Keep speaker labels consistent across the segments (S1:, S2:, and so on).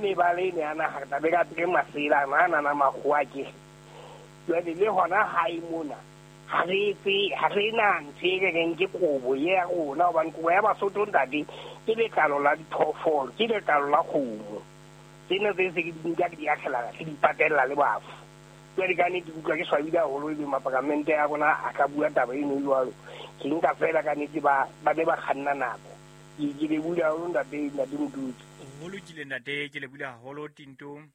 S1: Mebala ene ya naha re tlabe re apere masela ana a nana makgowa akere. Jwale le hona hae mona ha re etse ha re na ntho e re reng ke kobo ye ya rona, hobane kobo ya Basotho ntate ke letlalo la diphoofolo, ke letlalo la kgomo. Tsena tse se ke di nka ke di akgela ke di patella le bafu. Jwale ka nnete ke utlwa ke swabile haholo ebe maparamente a rona a ka bua taba eno jwalo. Ke nka feela ka nnete ba ba ne ba kganna nako. Ke lebohile haholo ntate, ntate Motutsi.
S2: Ho lokile ntate, ke lebohile haholo Tintong.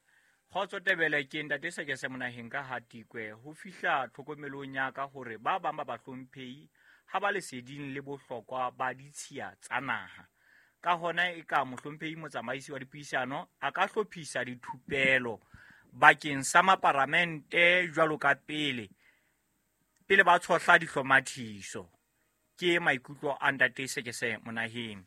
S2: Kgotso Tebele, ke ntate Sekese Monaheng ka Hatikwe. Ho fihla tlhokomelong ya ka hore ba bang ba bahlomphehi ha ba leseding le bohlokwa ba ditshiya tsa naha. Ka hona e ka mohlomphehi motsamaisi wa dipuisano a ka hlophisa dithupelo bakeng sa maparamente jwalo ka pele pele ba tshohla dihlomathiso. Ke maikutlo a ntate Sekese Monaheng.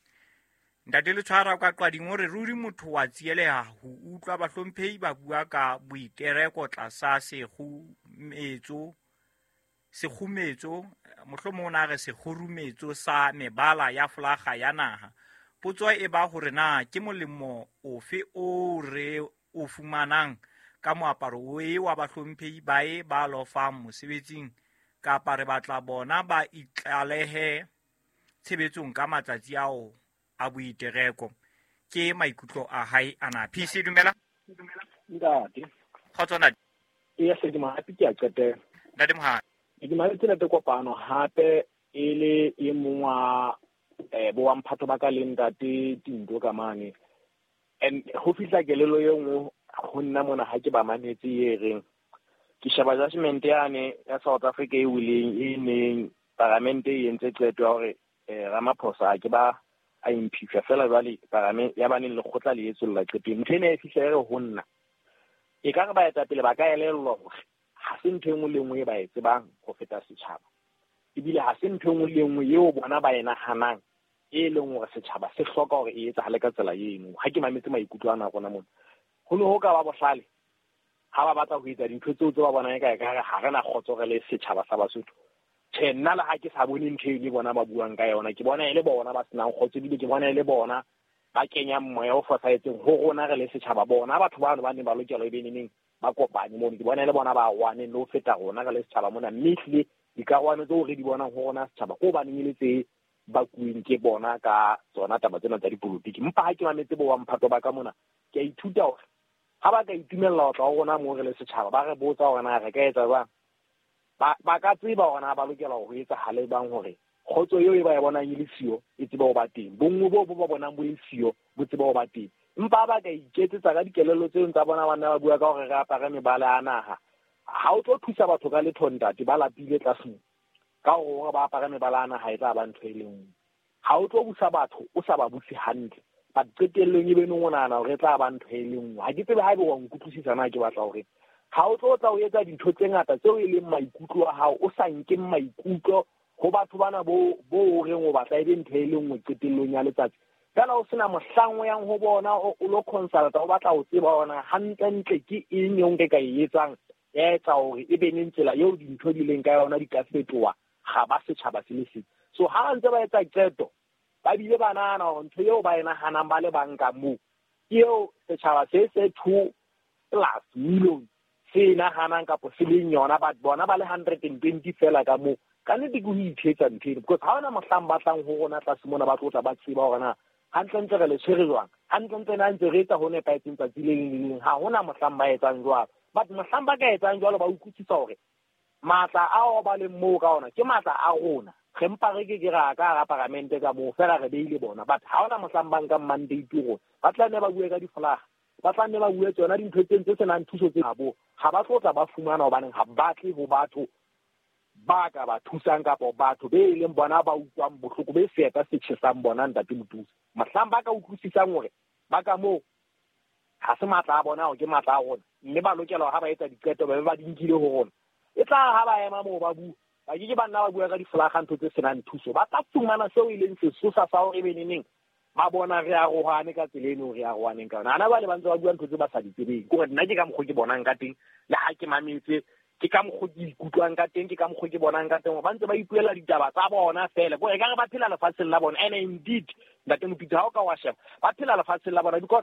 S2: Ntate Letshwara kwa Qwading o re ruri motho wa tsieleha ho utlwa bahlomphehi ba bua ka boitereko tlasa sekgumetso, sekgumetso, mohlomong o na re sekgurumetso sa mebala ya folaga ya naha. Potso e ba hore na ke molemo ofe o re o fumanang ka moaparo o e wa bahlomphehi ba e ba lofang mosebetsing, kapa re batla bona ba itlalehe tshebetsong ka matsatsi ao a boitereko. Ke maikutlo a hae ana. PC, dumela.
S3: Ntate.
S2: Kgotso ntate.
S3: Eya, se ke mohapi ke a qetela.
S2: Ntate Mohapi.
S3: Ke mametse ntate Kopano hape e le e mong wa bo wa mphato ba ka le ntate Tinto ka mane. And ho fihla kelello e nngwe ho nna mona ha ke ba mametse e reng ke sheba judgment yane ya South Africa e wileng e neng paramente e entse qeto ya hore Ramaphosa a ke ba a impeachwa fela jwale paramente ya baneng lekgotla le etsolla qeto. Ntho ena e fihla e re ho nna e ka re baetapele ba ka elellwa hore ha se ntho e nngwe le nngwe e ba e tsebang ho feta setjhaba, ebile ha se ntho e nngwe le nngwe eo bona ba e nahanang e leng hore setjhaba se hloka hore e etsahale ka tsela eno. Ha ke mametse maikutlo ana a rona mona, ho ne ho ka ba bohlale ha ba batla ho etsa dintho tseo tse ba bonang e ka ekare ha re na kgotso re le setjhaba sa Basotho. Tjhe, nna le ha ke sa bone ntho eno e bona ba buang ka yona, ke bona e le bona ba senang kgotso, ebile ke bona e le bona ba kenyang moya o fosahetseng ho rona re le setjhaba. Bona batho bano ba neng ba lokela e be neneng ba kopane mono, ke bona e le bona ba arohaneng le ho feta rona re le setjhaba mona. Mme ehlile dikarohano tseo re di bonang ho rona setjhaba ke hobaneng e le tse bakuweng ke bona ka tsona taba tsena tsa dipolotiki. Empa ha ke mametse bo wa mphato ba ka mona, ke a ithuta hore ha ba ka itumella ho tla ho rona moo re le setjhaba, ba re botsa hore na re ka etsa jwang, ba ka tseba hore na ba lokela ho etsahale jwang hore kgotso eo e ba e bonang e le siyo e tsebe ho ba teng, bonngwe boo bo ba bonang bo le siyo bo tsebe ho ba teng. Empa ba ka iketsetsa ka dikelello tseo tsa bona, ba nna ba bua ka hore re apare mebala ya naha, ha o tlo thusa batho ka letho ntate, ba lapile tlase moo. Ka hore ba apare mebala ya naha e tla ba ntho e le nngwe. Ha o tlo busa batho o sa ba buse hantle, but qetellong e be nong o nahana hore e tla ba ntho e le nngwe. Ha ke tsebe haebe wa nkutlwisisa na ke batla hore ha o tlo tla o etsa dintho tse ngata tseo e leng maikutlo a hao, o sa nkeng maikutlo ho batho bana bo o reng o batla e be ntho e le nngwe qetellong ya letsatsi. Feela o sena mohlang o yang ho bona o lo consulta, o batla ho tseba hore na hantlentle ke eng eo nke ka e etsang ya etsa hore e be neng tsela eo dintho di leng ka yona di ka fetoha ga ba setjhaba se le seng. So ha ba ntse ba etsa qeto, ba bile ba nahana hore ntho eo ba e nahanang ba le bang ka moo ke eo setjhaba se se 2+ million se e nahanang kapo se leng yona, but bona ba le 120 fela ka moo. Ka nnete ke ho ithetsa ntho eno, because ha hona mohlang ba tlang ho rona tlase mona ba tlo tla ba tseba hore na hantlentle re le tshwere jwang, hantlentle na ntse re etsa ho nepahetseng tsatsi le leng le leng. Ha hona mohlang ba etsang jwalo, but mohlang ba ka etsang jwalo ba utlwisisa hore matla ao ba leng moo ka ona ke matla a rona. Re mpa re ke ke ra ka hara paramente ka moo fela re beile bona, but ha hona mohlang ba nkang mandate rona. Ba tla nne ba bue ka difolaga, ba tla nne ba bue tsona dintho tse tse senang thuso tse bo ha ba tlo tla ba fumana, hobaneng ha batle ho batho ba ka ba thusang kapa batho be e leng bona ba utlwang bohloko be seeta se tjhesang bona ntate Motuse. Mohlang ba ka utlwisisang hore ba ka moo ha se matla a bona, hore ke matla a rona, mme ba lokela hore ha ba etsa diqeto ba be ba di nkile ho rona, e tla ha ba ema moo ba bua, ba ke ke ba nna ba bua ka difolaga ntho tse senang thuso. Ba tla fumana seo e leng sesosa sa hore e be neneng ba bona re arohane ka tsela eno re arohaneng ka yona. Hana jwale ba ntse ba bua ntho tse ba sa di tsebeng. Ke hore nna ke ka mokgwa ke bonang ka teng, le ha ke mametse ke ka mokgwa ke ikutlwang ka teng, ke ka mokgwa ke bonang ka teng, ba ntse ba ipuela ditaba tsa bona fela. Ke hore ekare ba phela lefatsheng la bona. And indeed, Ntate Mopitso, ha o ka wa sheba, ba phela lefatsheng la bona, because